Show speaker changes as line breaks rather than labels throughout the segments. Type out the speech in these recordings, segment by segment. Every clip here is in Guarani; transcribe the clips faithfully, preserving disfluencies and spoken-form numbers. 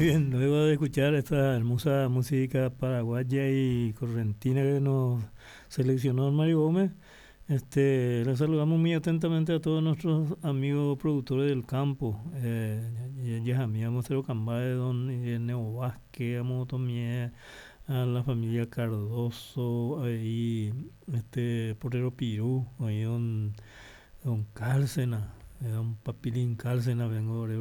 Muy bien, luego de escuchar esta hermosa música paraguaya y correntina que nos seleccionó Mario Gómez, este, les saludamos muy atentamente a todos nuestros amigos productores del campo. Eh, ya Cambay, don Ireneo Vázquez, a la familia Cardoso, ahí este Portero Pirú, ahí don, don Cárcena, don Papilín Cárcena, vengo de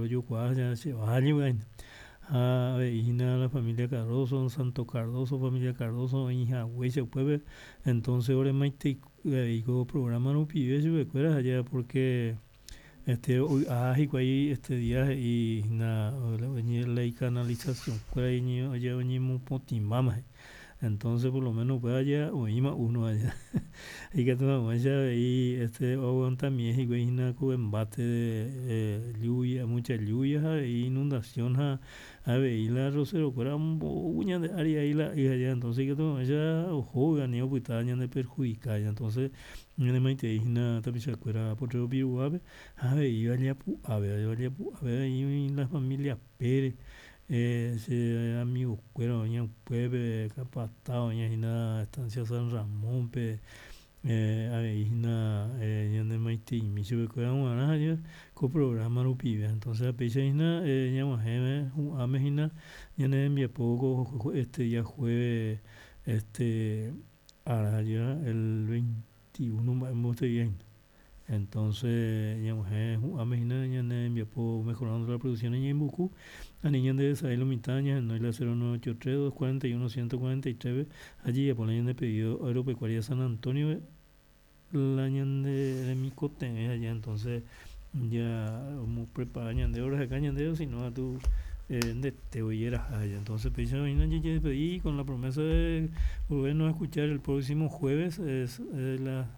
ha avei la familia Cardoso, don Santo Cardoso, familia Cardoso, hija puebe, entonces ore maite ko programa rupive chupekuéra allá porque este ah hikuái este día y na ley canalización kuéra oñemopotĩmbáma entonces por lo menos upéva ya oĩma uno allá ikatu hag̃uáicha avei este oaguantamie hikuái hína ko embate de lluvia, mucha lluvia ha inundación ha avei la arrocerokuéra ombou ñande ári ai la y allá entonces ikatu hag̃uáicha oho ani opyta ñande perjudica entonces ñanemaitei hína tapichakuéra Potrero Piruguápe ha avei Valle Apu'ápe avei la familia Pérez eh, che amigokuéra oĩ upépe Kapata oĩhína Estancia San Ramón-pe eh, avei hína eh, ñanemaiteimi chupekuéra g̃uarã ko programa rupive entonces péicha hína eh, ñag̃uahẽme hu'ãme hína ñane rembiapo ko este día jueves este ára el veintiuno mba'e hína entonces ñag̃uahẽ hu'ãme hína ñane rembiapo mejorando la producción ñeimbuku ani ñande lo mitã ñahenói la cero nueve ocho tres dos cuarenta y uno ciento cuarenta y tres allí japone ñande pedido agropecuaria San Antonio la ñande remikotevẽ allá entonces ya prepara ñande acá ñande sino a tu ndete oieraha entonces péicha oĩna jajedespedi con la promesa de volvernos a escuchar el próximo jueves es la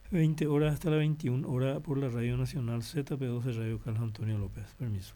veinte horas hasta la veintiuna horas por la Radio Nacional Z P doce Radio Carlos Antonio López. Permiso.